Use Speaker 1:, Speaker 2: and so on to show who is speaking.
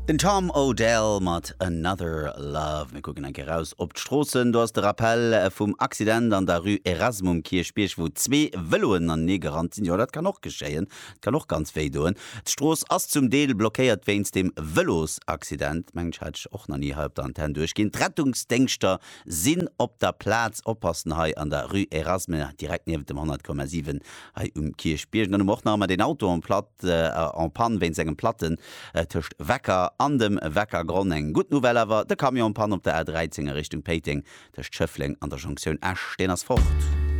Speaker 1: Den Tom Odell mat Another Love. Mir kucken eng Kéier raus op d'Stroossen. Do ass de Rappel vum Accident an der Rue Erasme um Kierchbierg, wou zwee Vëloen anenee gerannt sinn. Jo, dat kann och geschéien. Dat kann och ganz wéi doen. D'Strooss ass zum Deel blockéiert wéinst dem Vëlosaccident. Mengen ech hat ech och nach ni hei op der Antenn duerchginn. D'Rettungsdéngschter sinn op der Plaz. Oppassen hei an der Rue Erasme, direkt niewent dem 100,7 hei um Kierchbierg. An dann hu mer och nach ëmmer deen Auto en Platt, en panne wéinst engem Platten tëscht Wecker an dem Weckergronn. Eng gutt Nouvelle awer, de Camion en panne op der A 13 a Richtung Péiteng tëscht Schëffleng an der Jonktioun Esch, deen ass fort.